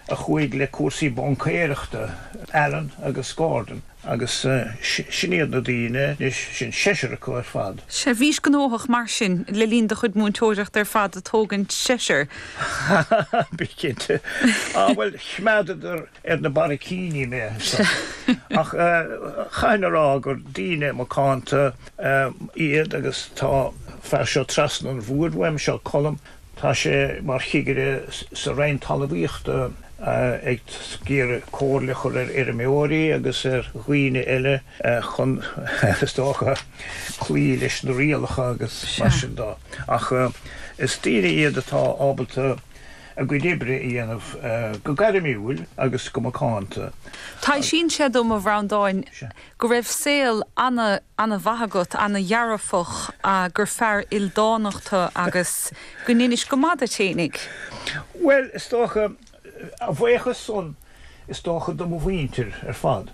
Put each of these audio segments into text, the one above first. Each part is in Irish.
a chuaigh le cúrsaí baincéireachta, Alan agus Gordon. Agus sin iad na daoine anois, sin seisear acu ar fad. Sea, bhís gnóthach mar sin le linn do chuid múinteoireachta ar fad ag tógaint seisear. Bí cinnte. Á, bhuel, choimeádadar ar na barraicíní mé ansan. Ach chaithfinn a rá gur daoine macánta iad agus tá fear seo trasna an bhoird uaim, seo Colm, Tá sé mar chigire sa Roinn Talmhaíochta ag iarraidh comhairle a chur ar fheirmeoirí agus ar dhaoine eile chun, is dócha, cloí leis na rialacha agus mar sin de. Ach is daoine iad atá ábalta a gcuid oibre a dhéanamh go gairmiúil agus go macánta. Taibhsíonn sé dom, a Bhreandáin, go raibh saol ana, ana-mhaith agat, ana-dhearfach, gur fear ildánach tu agus go ndeinis go maith duit fhéinig. Bhuel, is dócha, a bhuíochas san, is dócha, do mo mhuintir ar fad.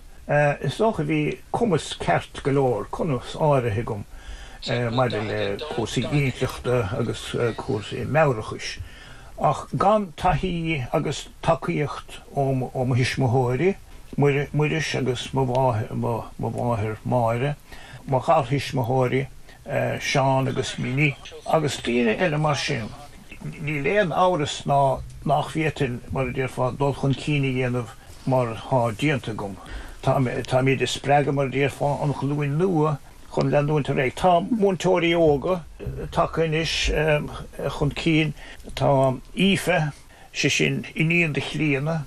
Is dócha bhí cumas ceart go leor, cumas áirithe agam maidir le cúrsaí intleachta agus cúrsaí meabhrachais, ach gan taithí agus tacaíocht ó mo thuismitheoirí, Muiris agus mo mháthair Máire, mo gharthuismitheoirí Seán agus Minnie agus daoine eile mar sin. Níl aon amhras ná nach bhféadfainn, mar a déarfá, dul chun cinn a dhéanamh mar atá déanta agam. Táimid ag spreagadh, mar a déarfá, an ghlúin nua chun leanúint ar aghaidh. Tá múinteoirí óga tagtha anois chun cinn. Tá Aoife. sé sin, iníon do Chlíona,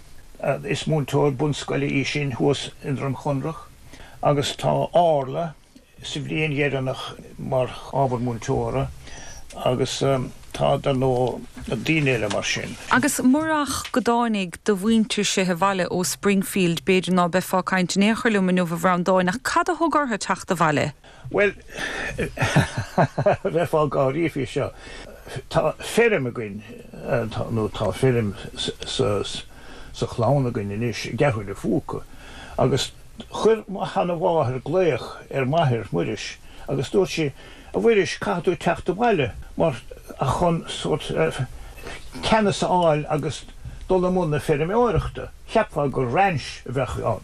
is múinteoir bunscoile í sin thuas i nDroim Chonrach, agus tá Orla sa bhliain dheireanach mar ábhar múinteora agus tá, dar ndóigh, daoine eile mar sin. Agus murach go dtáinig do mhuintirse abhaile ó Springfield, b'fhéidir ná beifeá ag caint in aon chor liom inniu, a Bhreandáin, ach cad a thug orthu teacht abhaile? Bhuel, bheifeá ag gáirí faoi seo. Tá feirm againn, nó tá feirm sa chlann againn anois i gCeathrú na Phúca, agus chuir mo sheana-mháthair glaoch ar m'athair, Muiris, agus dúirt sí, A Mhuiris, caithfidh tú teacht abhaile mar chun sórt ceannas a fháil agus dul i mbun na feirmeoireachta. Cheapfá gur ranch a bheadh ann.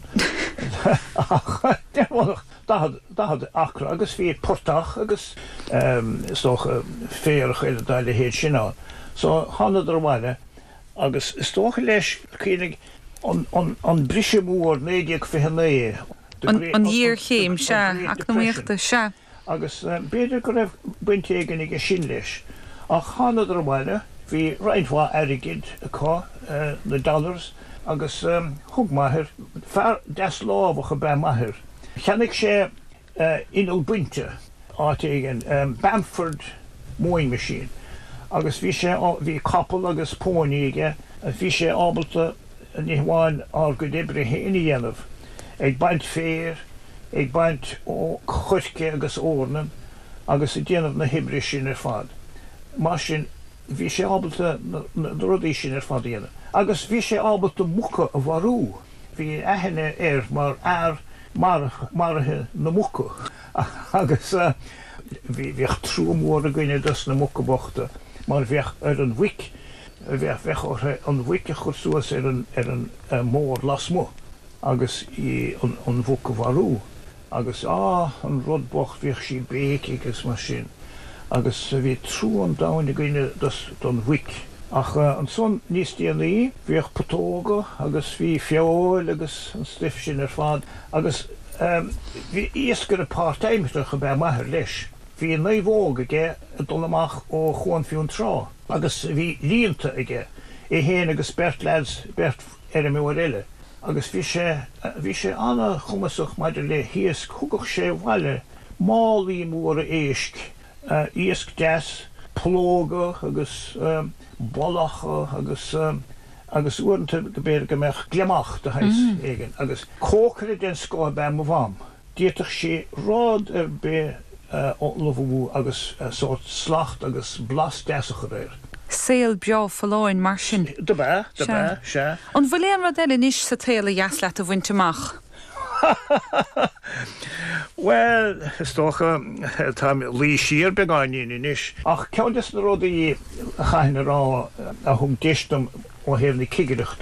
Ach deir 40, 40 acra agus bhí portach agus is dócha féarach eile dá leithéid sin ann. So thánadar abhaile agus is dócha leis, cuimhnigh, an, an, an briseadh mór 1929, the great, An ghéarchéim, sea, eacnamaíochta, sea. Agus b'fhéidir go raibh baint éigin aige sin leis. Ach thánadar abhaile, bhí roinnt mhaith airgid acu, na dollars, agus thug m'athair, fear deaslámhach ab ea m'athair, Cheannaigh sé inneall bainte áit éigin, Bamford mowing machine, agus bhí sé, bhí capall agus pónaí aige, bhí sé ábalta ní hamháin ár gcuid oibre féin a dhéanamh, ag baint féir, ag baint coirce agus eorna agus ag déanamh na hoibre sin ar fad. Mar sin, bhí sé ábalta na rudaí sin ar fad a dhéanamh. Agus bhí sé ábalta muca a mharú. Bhí aithne air mar fhear maraithe na muca agus bhíodh trua mór againne dos na muca bochta mar bheadh ar an mhuic, bheadh orthu an mhuic a chur suas ar an ar an mbord lasmuigh agus í an mhuc a mharú. Agus, á, an rud bocht, bhíodh sí ag béicigh agus mar sin. Agus bhí trua an domhain againne dos, don mhuic. Ach ansan, níos déanaí, bhíodh putóga agus bhí feoil agus an stuif sin ar fad. Agus bhí iascaire páirtaimseartha ab ea m'athair leis. Bhí naomhóg aige ag dul amach ó Chuan Fionntrá agus bhí líonta aige, é féin agus beirt leaids, beirt fheirmeoir eile. Agus bhí sé, bhí sé an-chumasach maidir le hiasc, thugadh sé abhaile málaí móra éisc, iasc deas, pollóga agus bollacha agus, agus uaireanta b'fhéidir go mbeadh gliomach de shaghas éigin. Agus cócaire den scoth ab ea mo mham. D'fhéadfadh sí rud ar bith a ullmhú agus sórt slacht agus blas deas a chur air. Saol breá folláin mar sin. Dob ea, dob ea, sea. An bhfuil aon rud eile anois sa tsaol a dheas leat a bhaint amach? Bhuel, is dócha, táim ag luí siar beagáinín anois. Ach ceann des na rudaí a chaithfinn a rá a thug deis dom ó thaobh na cigireachta.